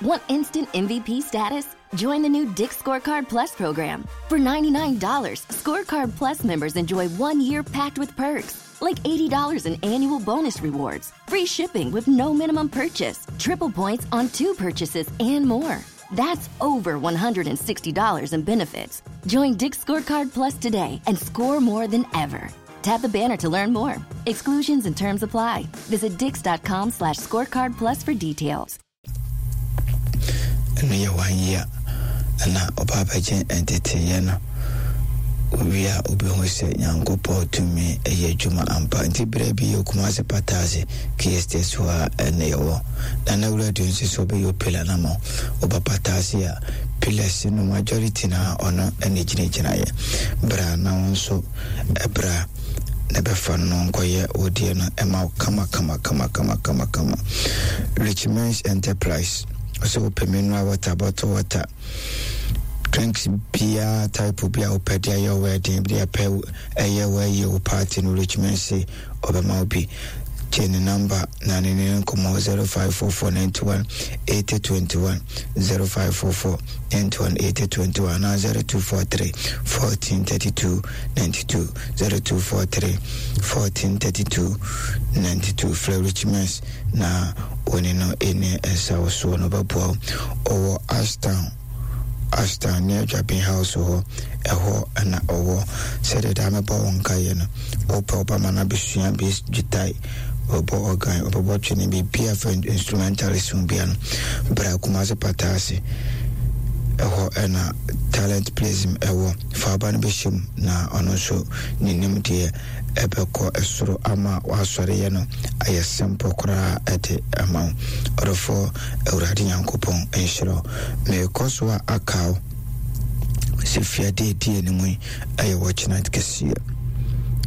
Want instant MVP status? Join the new Dick's Scorecard Plus program. For $99, Scorecard Plus members enjoy 1 year packed with perks, like $80 in annual bonus rewards, free shipping with no minimum purchase, triple points on two purchases, and more. That's over $160 in benefits. Join Dick's Scorecard Plus today and score more than ever. Tap the banner to learn more. Exclusions and terms apply. Visit dicks.com/scorecard plus for details. Ɛno yɛ one year na ɔba abɛgye nteteeɛ no. Wowie a wobɛhu sɛ Nyankopɔn tumi yɛ adwuma ampa. Nti berɛ bi yɛ Kumasi Pataase KSTS hɔ a ɛna yɛwɔ. Nana Wura nso sɛ ɔbɛyɛ opila no ama wo. Woba Pataase a pillars no majority na ɔno ɛna gyinagyinaeɛ. Bra na wo nso ɛbra na bɛfa no nkɔyɛ wo deɛ no ɛma wo kama kama kama kama kama kama. Richmond's Enterprise ɔsɛ wopɛ mineral water, bottle water, drinks biara type bi a wopɛ de ayɛ wedding bi apɛ ɛyɛ wɔayie wo party no, Richmond se ɔbɛma wo bi. Gye ne number na ne ne nkɔmmɔ: 0544 91 80 21, 0544 91 80 21 na 0243 14 32 92, 0243 14 32 92. Frɛ Richmond na wɔne no ɛni nsa wo soɔ no bɛboa wo. Ɔwɔ Ashtown, Ashtown ne Adwabin House hɔ, ɛhɔ ɛna ɔwɔ. Sɛdeɛ daa mɛbɔ wo nkaeɛ no, wopɛ woba ma no abɛsua bass guitar, ɔbɛbɔ organ, ɔbɛbɔ twene, biribia fa instrumentalist ho bia no, bra Kumase Pata ase, ɛhɔ ɛna Talent Plasm ɛwɔ. Fa aba no bɛhyɛ mu na ɔno nso ne nim deɛ ɛbɛkɔ ɛsoro ama wasɔreyɛ no ayɛ simple koraa ɛde ama wo. Ɔdɔfoɔ, Awurade Nyankopɔn nhyira wo. Merekɔ so a aka wo sɛ fiade ɛdi anim yi ɛyɛ wɔkyena kɛseɛ.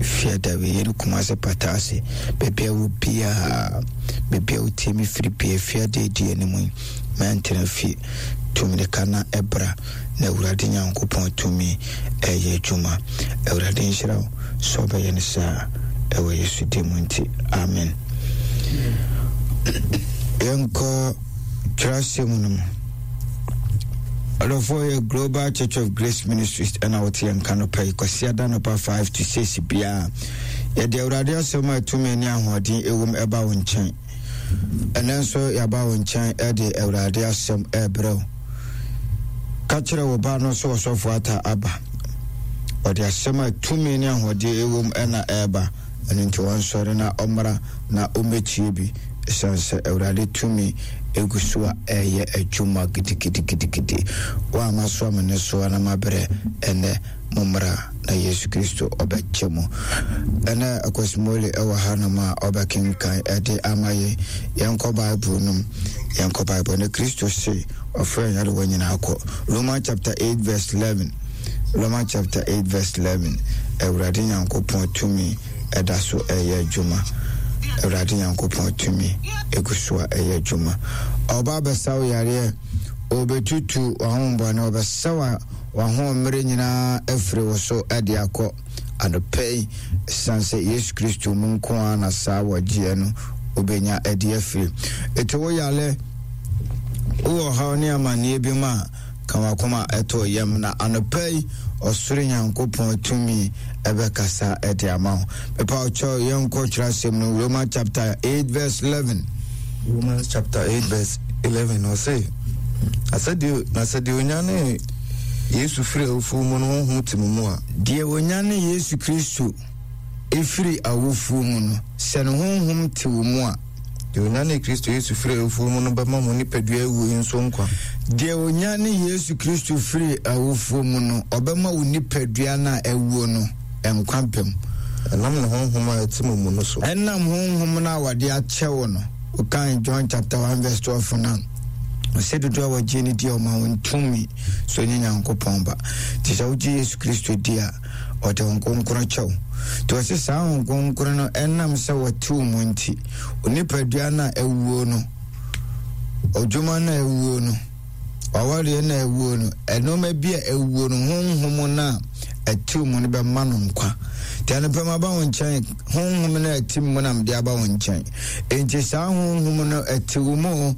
Fiada wei yɛne Kumase Pata ase, baabi a wo biaa, baabi a wotie me firi bia, fiade ɛdi anim yi mɛntena fie. Tumirika na ɛbra na Awurade Nyankopɔn tumi ɛyɛ adwuma. Awurade nhyira wo sɛ ɔbɛyɛ no saa ɛwɔ Yesu din mu nti, amen. Yɛnkɔ twerɛasɛm no mu. Ɔdɔfoɔ, yɛ Global Church of Grace Ministries ɛna wote yɛn nka no pɛ yi Kwasiada nɔpa 5 to 6 biara yɛde Awurade asɛm a tumi ne ahoɔden ɛwom ɛba wo nkyɛn. Ɛnɛ nso yɛaba wo nkyɛn ɛde Awurade asɛm ɛrebrɛ wo. Ka kyerɛ wo ba no sɛ ɔsɔfo Ata aba. Ɔde asɛm a tumi ne ahoɔden ɛwom ɛna ɛreba. Ɛno nti ɔnsɔre na ɔmmra na ɔmmɛtie bi, ɛsiane sɛ Awurade tumi egu so a ɛreyɛ adwuma gidigidigidigidi. Wo a masoa me nnesoa na mabrɛ ɛnɛ, mommra na Yesu Kristo ɔbɛkyɛ mu. Ɛnɛ Akwasimole ɛwɔ hanom a ɔbɛkenkan ɛde ama yɛn. Yɛnkɔ Bible no mu. Yɛnkɔ Bible no. Kristo se ɔfrɛ nyarewa nyinaa kɔ. Romans chapter 8 verse 11. Romans chapter 8 verse 11. Awurade Nyankopɔn tumi ɛda so ɛyɛ adwuma. Awurade Nyankopɔn tumi egu so a ɛyɛ adwuma. Ɔba abɛsa wo yareɛ, ɔbɛtutu w'ahombɔne, ɔbɛsa wa w'ahoɔmmerɛ nyinaa afiri wo so de akɔ anɔpa yi, ɛsiane sɛ Yesu Kristo mu nko ara na saa wɔgyeɛ no wobɛnya de afiri. Ɛti wo yale, wowɔ ɔhaw ne amanneɛ bi mu a, ka wakoma ɛto yam na anɔpa yi ɔsoro Nyankopɔn tumi ɛbɛkasa de ama wo. Mepa wo kyɛw, yɛnkɔ twerɛasɛm no, Romans chapter 8 verse 11. Romans chapter 8 verse 11, ɔse, na sɛ deɛ onyane Yesu firi awufoɔ mu no honhom te mo mu a, Deɛ onyane Yesu Kristo ɛfiri awufoɔ mu no, sɛ ne honhom te wo mu a, deɛ onyane Kristo Yesu firi awufoɔ mu no bɛma mo nipadua awuo yi nso nkwa. Deɛ onyane Yesu Kristo firi awufoɔ mu no, ɔbɛma wo nipadua no a awuo no nkwa bɛm. Ɛnam ne honhom a ɛte mo mu no so. Ɛnam honhom no a wɔde akyɛ wo no. Wokan John chapter 1 verse 12 no a, ɔsɛ dodoɔ a wɔgye no di a, ɔma wɔn tumi so nye Nyankopɔn ba. Nti sɛ wogye Yesu Kristo di a, ɔde Honhom Kronkron kyɛ wo. Nti ɔse saa Honhom Kronkron no, ɛnam sɛ wɔte wo mu nti, onipadua no a awuo no, ɔdwuma no a awuo no, wawareɛ no a awuo no, ɛnneɛma bi a awuo no, honhom no a ɛte wo mu no bɛma no nkwa. Nti anɔpa mu aba wo nkyɛn, honhom no a ɛte mu na mede aba wo nkyɛn. Enti saa honhom no ɛte wo mu.